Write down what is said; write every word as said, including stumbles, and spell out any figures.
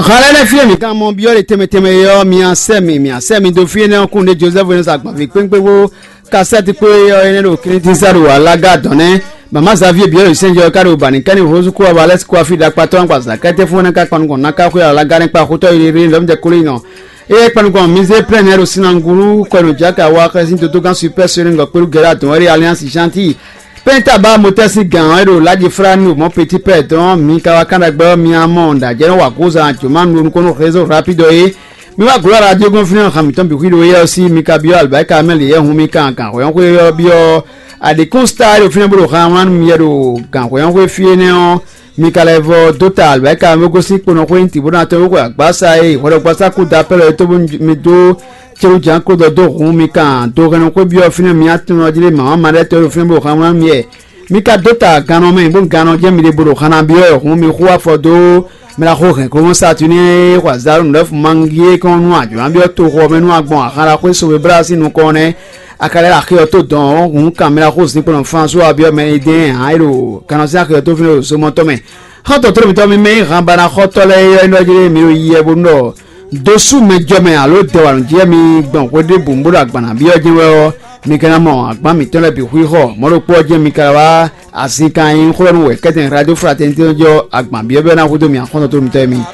Xalɛ lɛ́ɛ fí e mǐ ka mɔ byɔ́ ɖe tɛnmɛ tɛnmɛ é ɔ́, mi asɛ mi, mi asɛ mi dó fí énɛ́ ɔ́ kún ɖé Jozɛ́fu énɛ́ sa gbɔn vǐ kpékpé bó kasɛ́ti kpé ɔ́ énɛ́ ɖo Klítísa ɖo alága dɔn nɛ́. Mama Xavier byɔ́ ɖo sɛnjɔ ká ɖo bani kɛ́ni hozú kó aba lɛ́ kó afi ɖakpatɔ́ ɔ́ gba zǎkɛ́tɛ́ fún énɛ́ ká kpanukɔn ná ká xwé alága nɛ́ kpa xótɔ́ yi ɖé lɔ́mɔdɛ kóló yi nɔ. Eye kpanukɔn Mizé Plɛ́n nɛ́ ɖo Sinangulu kɔnu Jaka wa xɛsin dodógán Super Sonic kpéɖu Gɛlá dɔn wɛ ɖe Alliance Gentil. Pɛ́ntaba motɛ́ sín gǎn ɔ́ e ɖo Laji Flani ɖo mɔ̌ Petit Père dɔn ɔ́, mi ka wá kán ɖagbe ɔ́, mi ná mɔ ɖajɛ́nɔ wa gozan jǒmanu ɖo nukɔn nú réseau rapide ɔ́ é. Mi wá glɔ́ radio gɔ́n fínɛ́ han mǐtɔn bǐ xwíɖó éyɛ́ ɔ́ sí, mi ka byɔ́ alibáka mɛ lě yɛ hun mi kan gǎnhwɛ́nxwé ɔ́ byɔ́. Aɖě kún star e ɖo fínɛ́ bó ɖo han wlán nú mi yɛ ɖo gǎnhwɛ́nxwé fí énɛ́ ɔ́, mi ka lɛ́ vɔ dó ta alibáka mɛ bó gosín kponɔxwé nyi tǐ bó ná tɔ́n bó xwe agbása e hwɛɖɔgbasá kú da pɛ́lɛ é tó bó mi dó célu jǎn kó dɔ dó hun mi kan do hɛnnɔ xwé byɔ́ fínɛ́ mi atún ɔ́ jí lé mǎmá ma ɖɛ́ tɔ́ ɖo fínɛ́ bó han wlán mi yɛ. Mi ka dó ta gannɔ mɛ bó gannɔ jɛ́n mi ɖe bó ɖo han ná byɔ́ wɛ hun mi xú afɔ dó mɛ ɖaxó hɛn kómɔ Saturnin e xɔ azǎn nǔɖɛ́fú mangi e kɔn nú ajɔ̌ byɔ́ toxo ɔ́ mɛ nú agbɔn ahan ɖaxó e sovebláa sín nukɔn ɔ́ nɛ́. A ka lɛ́ ɖo axi ɔ́ tó dɔn ɔ́, hun kan mɛ ɖaxó zinkpo Flánsu ɔ́ byɔ́ mɛ e dɛ́n hǎn e ɖo gannɔ sín axi ɔ́ tó fínɛ́ ɖo zomɔtɔ́ mɛ. Xɔ́ntɔn tló mǐtɔn mi mɛ e hǎnbanaxɔtɔ́ lɛ́ɛ é ɔ́ é nɔ jí mi ɖo yi wɛ bónú ɖɔ dó sú mɛ jɔ mɛ alo dɛ wa nǔ jí wɛ mi gbɔn hwe ɖěbǔ bó ɖo agban ná byɔ́ jɛ́n wɛ ɔ́, mi ka ná mɔ agban mǐtɔn lɛ́ɛ bǐ xwixɔ. Mɔ̌ ɖokpó ɔ́ jɛ́n mi ka wá azinkan e nyí xó ɖɔ nú wɛ̌kɛ́tɛn Radio Fraternité ɔ́ jɔ agban byɔ́byɔ́ ná hudó mi axɔ́ntɔn tló mǐtɔn e mi.